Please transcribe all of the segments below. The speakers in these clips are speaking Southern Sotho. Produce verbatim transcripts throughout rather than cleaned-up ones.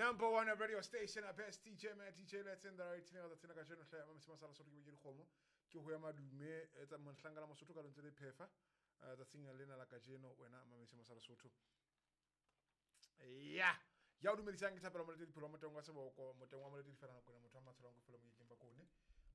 Number one radio station, a best D J, man, D J Let's in the right thing, the Tinaka General, Mamma Sala Soto, Homo, Kihuama Dume, it's a Monslanga Mosuka and the Pefa, the thing Lena Lacajeno, when I'm Mamma Sala Soto. Yeah. Ya o dumedisang ke thapelo moletedi pholo moteng wa seboko moteng wa moletedi fela nako motho wa matsholong go fela mo yekeng ba kone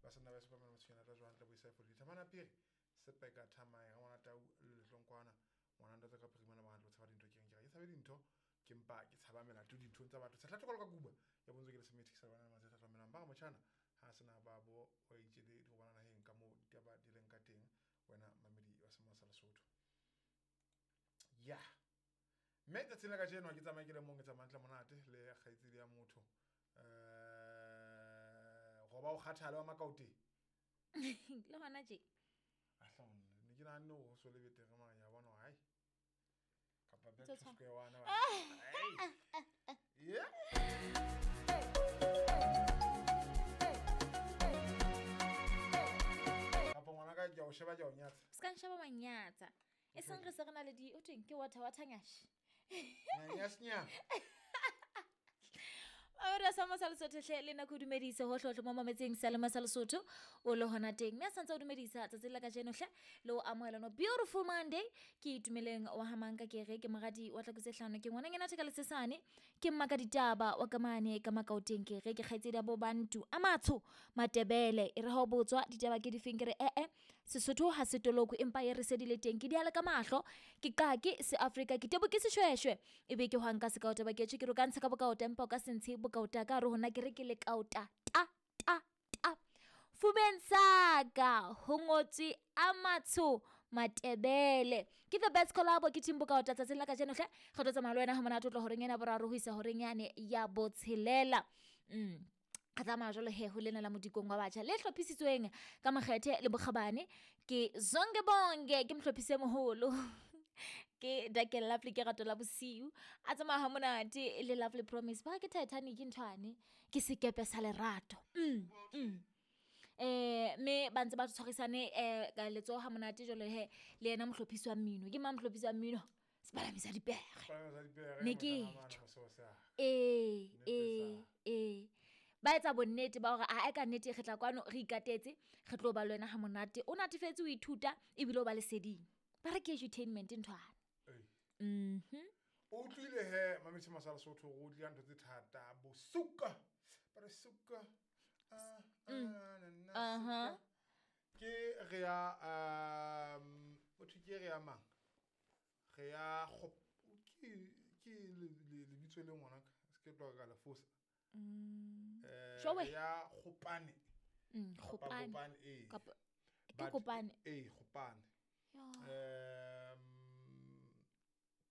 ba sanna ba sepa mona tshwana tla jwang tla buisa for dithamana piri sepeka thamae ga ngwana tau letlongkwana ngwana ntate ka phirima ba hantlo tshaba dintho ke reng ke tshabe dintho ke mpa ke tshaba melato dinthong tsa batho tshela tlokolo ka kuba ya bontswe ke le semethi sa bana matse tla melang ba motjhana ha sena ba bo wa itjele di go bana naheng ka mo ditaba di leng ka teng wena mamedi wa Sema sa Lesotho. Yeah. Mme tsatsing la kajeno ke tsamaya ke le mong ke tsamaya ntle monate le kgaitsedi ya motho eh go ba o kgathale wa makaoteng le hona je ahla ne ke nahane ho so le betere mara ya bona hai kapa back to square one ba yeah. Kapa ngwana ka ke o sheba ke o nyatsa se ka nsheba manyatsa e seng re se re na le di o teng ke water water nyash. Yes, nya. Ora sa Masa Lesotho hle le nako dumedisa ho hlohlo mo mametseng sa le Masa Lesotho o le hona teng mme a santse o dumedisa tsatsi la kajeno hle le o amohela no beautiful Monday ke itumeleng wa hamanka ke re ke moradi wa tlakutse hlano ke ngwana ngena theka lesesane ke mmaka ditaba wa kamane ka makaoteng ke re ke kgaitsedi bo bantu amatsho matebele e re ha o botswa ditaba ke difeng ke re eh eh Sesotho ha se toloko empa e re sedile teng ke diala ka mahlo ke qake se Afrika ke tebo ke seshweshwe ebe ke hwanka se kaota ba ke tjhe ke ro ka ntsha ka bokaota empa o ka se ntshe bokaota ka re hona ke re ke le kaota ta ta ta fubeng saka ho ngotswe amatsho matebele ke the best collab ke team bokaota tsatsing la kajeno hle re tlo tsamaya le wena ha monate o tlo horeng ena boraro ho isa horeng yane ya botshelela mm ka tsamaya jwalo he ho lena la modikong wa batjha le hlophisitsweng ka makgethe le bokgabane ke Zonke Bonke ke mohlophisi e moholo ke Dakel Lovely ke rato la bosiu a tsamaya ha monate le Lovely Promise ba ke Titanic nthwane ke sekepe sa lerato mm mm eh me ba ntse ba tshwarisane eh ka letsoho ha monate jwalo he le yena mohlophisi wa mmino ke mang mohlophisi wa mmino sepalamisa dipere ne ke eh eh eh ba etsa bonnete ba hore a ka nnete re tla kwano re ikatetse re tlo ba le wena ha monate o natefetse o ithuta ebile o ba leseding ba re ke edutainment nthwana. Mhm o utlwile he mametse Masa Lesotho go utlwa ntho tse thata bosuka ba re suka ah aha ke re ya um motho ke re ya mang re ya ke ke le bitso le ngwana ka se ke tloga ka la fosa mm eh ya Gopane mm Gopane eh ke Gopane eh Gopane um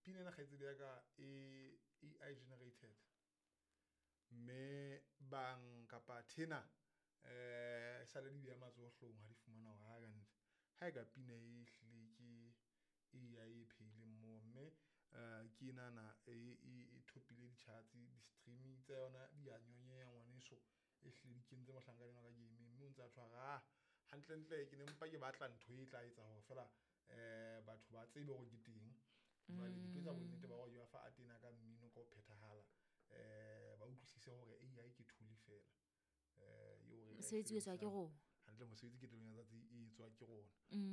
pina na kgaitsedi ya ka e A I generated mme bang kapa thena eh sa le di beya matsoho hlong ha di fumana hore ha ka ntle ha e ka pina e hlile ke A I e pheileng mo mme ke nana e thopile di-charts di-streaming tsa yona di a nyonyeya ngwaneso e hlile di kentse mohlankana ka game mme o ntse a tshwara hantlentle ke ne mpa ke batla ntho e tla etsa hore fela eh batho ba tsebe hore ke teng jwale ke tlo etsa bonnete ba hore ke ba fa atena ka mmino ka ho phethahala eh ba utlwisise hore A I ke tool fela eh eo re mosebetsi o etswa ke rona hantle mosebetsi ke teng ya tsatsi e etswa ke rona.